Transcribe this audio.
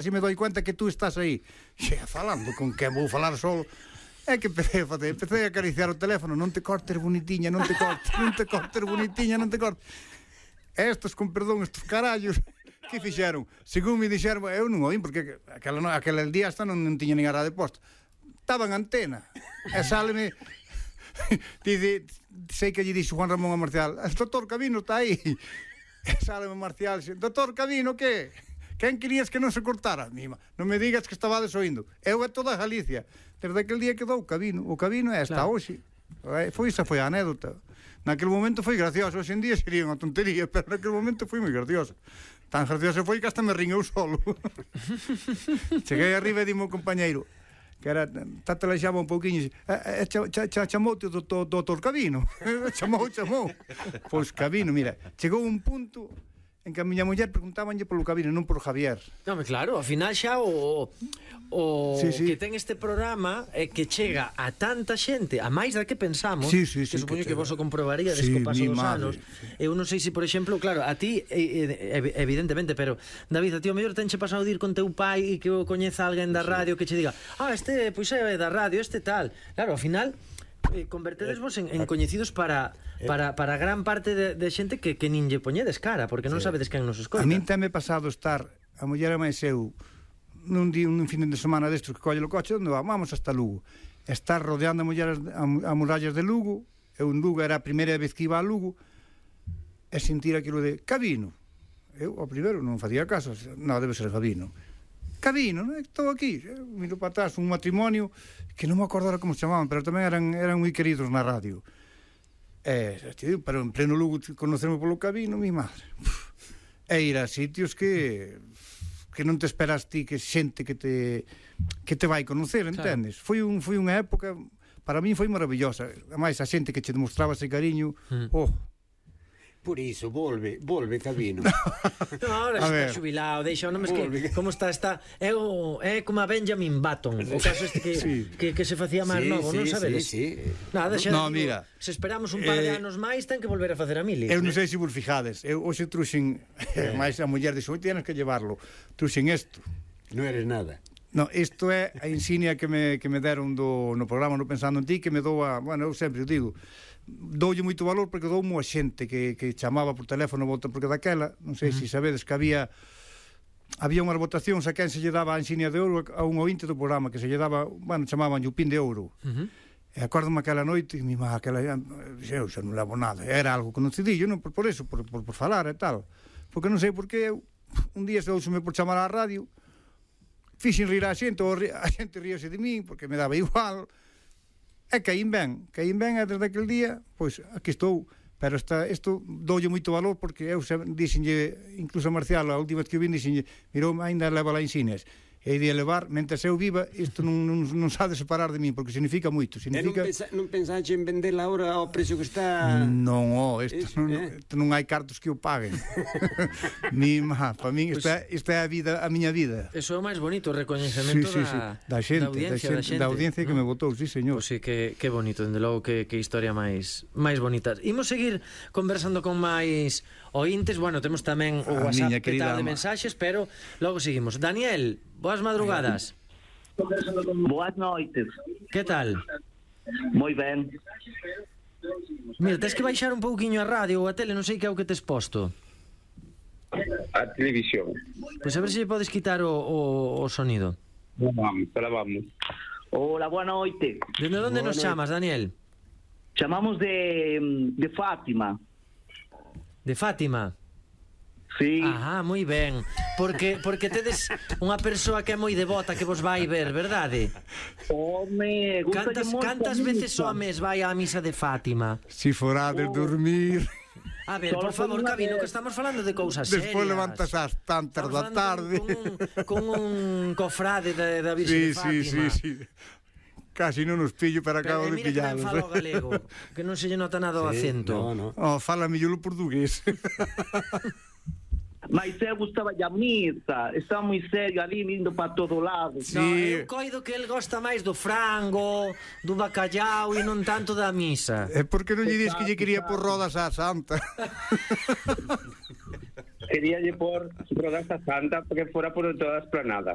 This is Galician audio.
así me doi cuenta que tú estás aí. Xe, falando con quen vou falar solo. É que empecé a acariciar o teléfono. Non te cortes, bonitiña, non te cortes, bonitiña, non te cortes. Estos, con perdón, estos carallos, que fixeron? Según me dixeron, eu non oín, porque aquele día hasta non tiña nin a radio posta. Estaba en antena. E sáleme... Dice, sei que lle dixo Juan Ramón a Marcial, el doutor Cabino está aí. E sáleme Marcial, doutor Cabino, que? Quen querías que non se cortara? Mima, non me digas que estabades oindo. Eu é toda Galicia. Desde aquel día quedou o Cabino é hasta hoxe. Esa foi a anécdota. Naquele momento foi gracioso, hoxe en día sería unha tontería, pero naquele momento foi moi gracioso. Tan gracioso foi que hasta me rin eu solo. Cheguei arriba e dime o compañeiro, que era, tatalexaba un pouquiño, chamoute o doutor Cabino. Chamou. Pois Cabino, mira, chegou un punto en que a miña muller preguntábanlle polo Cabino, non por Javier. Non, claro, ao final xa o sí. Que ten este programa é que chega a tanta xente, a máis da que pensamos, que supoño que vos o comprobaríades co paso dos anos. Eu non sei se, por exemplo, claro, a ti evidentemente, pero David, a ti o mellor tenche pasado de ir con teu pai e que o coñeza alguén da radio que che diga, este pois é da radio, este tal. Claro, ao final convertedesvos en coñecidos para gran parte de xente que nin lle poñedes cara, porque non sabedes quen nos escoita. A min teme pasado estar a muller e máis eu nun fin de semana destos que colle o coche, onde vamos hasta Lugo, estar rodeando a mulleres a murallas de Lugo. Eu en Lugo era a primeira vez que iba a Lugo e sentir aquilo de Cabino. Eu ao primeiro non facía caso, non, debe ser Cabino, estou aquí. Eu miro para atrás, un matrimonio que non me acordo como se chamaban, pero tamén eran moi queridos na radio. Pero en pleno Lugo conocerme polo Cabino, mi madre. E ir a sitios que non te esperas ti, que xente que te vai conocer, entendes? Foi unha época, para min foi maravillosa. Ademais, a xente que che demostraba ese cariño, Por iso, volve Cabino. Ahora está xubilado, deixa o nome que como está é como a Benjamin Button, o caso este que se facía máis novo, non sabedes? Nada, xa mira, se esperamos un par de anos máis ten que volver a facer a mili. Eu non sei se vos fijades, eu hoxe truxen máis a muller dixo, tienes que llevarlo. Truxen isto. Non eres nada. No, isto é a insignia que me deron no programa No Pensando en Ti, que me dou bueno, eu sempre digo, doulle moito valor porque dou a xente que chamaba por teléfono, porque daquela, non sei se sabedes que había unhas votacións a quen se lle daba a insignia de ouro a un ointe do programa, que se lle daba, bueno, chamaban o pin de ouro. E acórdome aquela noite, eu xa non levo nada, era algo conocidillo, non por eso, por falar e tal, porque non sei por que eu un día se douseme por chamar á radio, fixen rir a xente, a xente ríase de min porque me daba igual. E caín ben, e desde aquel día, pois, aquí estou. Pero isto doulle moito valor porque eu dixenlle, incluso a Marcial, a última vez que eu vin, dixenlle, mirou, ainda leva lá insignias. E de levar, mentre eu viva, isto non sabe separar de min, porque significa moito. Non pensaxe en vendela ahora ao precio que está? Non, isto non hai cartos que o paguen. Para min, isto é a miña vida. Eso é o máis bonito, o recoñecemento da audiencia que me votou, sí, señor. Pois sí, que bonito, dende logo, que historia máis bonita. Imos seguir conversando con máis ointes. Bueno, temos tamén o WhatsApp petado de mensaxes, pero logo seguimos. Daniel, boas madrugadas. Boas noites. Que tal? Moi ben. Mira, tens que baixar un pouquiño a radio ou a tele, non sei que é o que tes posto. A televisión. Pois a ver se podes quitar o sonido. Vamos. Hola, boa noite. Dende onde nos chamas, Daniel? Chamamos de Fátima. De Fátima? Sí. Moi ben. Porque tedes unha persoa que é moi devota, que vos vai ver, verdade? Home, cantas veces ao mes vai á misa de Fátima? Si forades dormir. A ver, por favor, Cabino, que estamos falando de cousas serias. Despois levantas ás tantas da tarde con un cofrade da Virxe de Fátima. Sí. Casi non os pillo, pero acabo de pillalos. Mira que ben falo galego, que non se lle nota nada o acento. Fala mellor o portugués. Mas eu gustaba a misa, estaba moi serio ali, indo para todo lado. Eu coido que el gosta máis do frango, do bacallau e non tanto da misa. É porque non lle dis que lle quería por rodas á santa. Quería lle por rodas á santa porque fora por toda a esplanada.